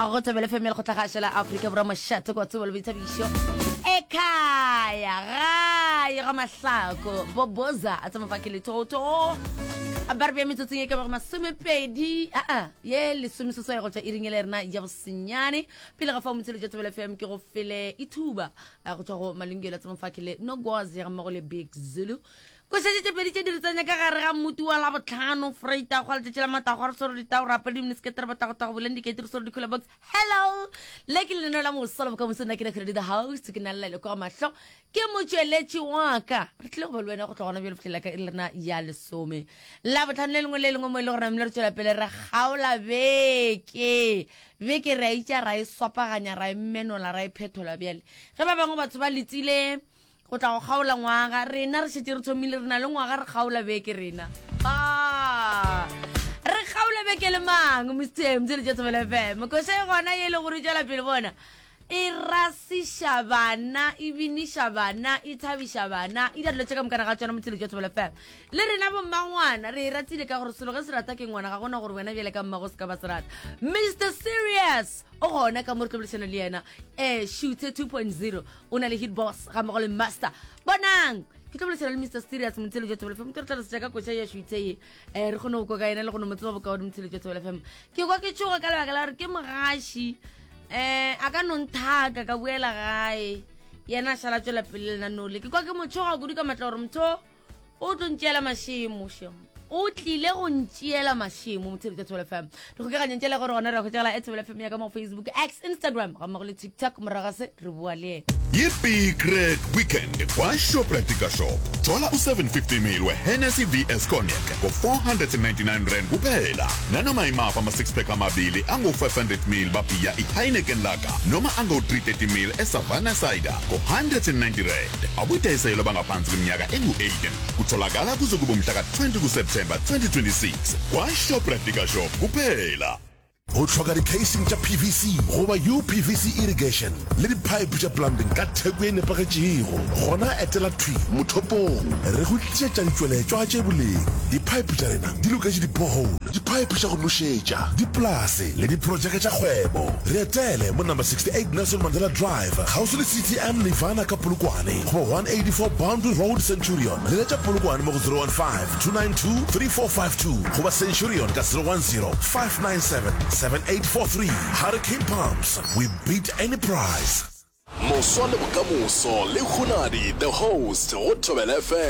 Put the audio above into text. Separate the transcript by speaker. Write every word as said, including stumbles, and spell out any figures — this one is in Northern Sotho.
Speaker 1: A go Thobela F M ya Lekgotlakgašo la Afrika Borwa, mošate kwa tsebo le boithabišo. Ekhaya, gae ga mahlako, boboza a tsama fa ke lethotho. Ba re bea metsotsong e ka bago masomepedi, aa, ye lesomeseswai go tšwa iring e le rena ya bosenyane. Pele ga fao motshelo tša Thobela F M ke go fele ithuba go tšwa go Malungelo a tsama fa ke le Nogwazi ga mmogo le Big Zulu. Košetše tše pedi tše di re tsenya ka gare ga mmuti wa Labohlano, Freita, gwa letšatši la matago, re swere ditao, re apere diminiskete, re botagotago, boleng dikeiti, re swere di-cooler box. Hello! Le ke lenaneo la moso la bokamoso, nna ke Nakgedi the host, ke na le Laile kwa mahlo, ke motšweletši wa ka. Re tlile go ba le wena go tloga gona bjale go fihlela ka iri lena ya lesome. Labohlano le lengwe le lengwe mo e le gore namile re tšwela pele re kgaola beke. Beke re a itša, ra e swapaganya, ra e menola, ra e phethola bjale. Ge ba bangwe batho ba letile go tla go kgaola ngwaga, rena re šetše re thomile, re na le ngwaga re kgaola beke rena. Ah, re kgaola beke le mang, Mister M, tšele tša Thobela F M. Koša e gona ye e le gore e tšwela pele bona. E rasiša bana, e biniša bana, e thabiša bana, e dira dilo tše ka mokana ga tšona motshelo tša Thobela F M. Le rena bommangwana re e ratile ka gore selo ge se rata ke ngwana, ga gona gore wena bjale ka mmago se ka ba se rata. Mister Serious o gona ka mo re tlo boledišana le yena, eh, Shooter two point zero, o na le Hit Boss ga mmogo le Master. Bonang, ke tlo boledišana le Mister Serious motshelo tša Thobela F M, ke re tla re setša ka koša ya Shooter ye, eh, re kgone go kwa ka yena le go no mo tseba bokaone motshelo tša Thobela F M. Ke kwa ke tšhoga ka lebaka la gore ke mogaši, eh, a ka no nthaka ka boela gae, yena a šala tšwela pele lenaneo le. Ke kwa ke mo tšhoga kudu ka matla gore motho o tlo ntšeela mašemo, shem. O tlile go ntšeela mašemo motshelo tša Thobela F M. Re kgokaganyang tšela gore gona re hwetšagala at Thobela F M ya ka mo Facebook, X, Instagram ga mmogo le TikTok. Morago ga se re bua le yena.
Speaker 2: Yippee Crack Weekend kwa Shoprite Liquor Shop. Thola u seven fifty mil we Hennessy V S Cognac ngo four hundred and ninety-nine rand kuphela. Nanoma imaphi ama six pack amabili angu five hundred mil babhiya i Heineken Lager noma angu three thirty mil e Savannah Cider ngo hundred and ninety rand. Abudayiselwa bangaphansi kweminyaka engu eighteen. Kutholakala kuze kube umhla ka twenty kuSeptember twenty twenty-six kwa Shoprite Liquor Shop kuphela.
Speaker 3: Go hloka di-casing tša P V C goba U P V C irrigation le di-pipe tša plumbing ka theko ye nepagetšego, gona etela thwi mothopong. Re go tlišetša ditšweletšwa tše boleng. Di-pipe tša rena di loketše di-borehole, di-pipe tša go nošetša, dipolase le diprojeke tša kgwebo. Re etele mo number sixty-eight Nelson Mandela Drive, kgauswi le C T M Nirvana ka Polokwane, goba one eighty-four Boundary Road, Centurion. Leletša Polokwane mo go zero one five, two nine two, three four five two goba Centurion ka zero one zero, five nine seven, seven eight four three. Hurricane Pumps, we beat any price.
Speaker 4: Moswa le bokamoso le Hunadi the host go Thobela F M.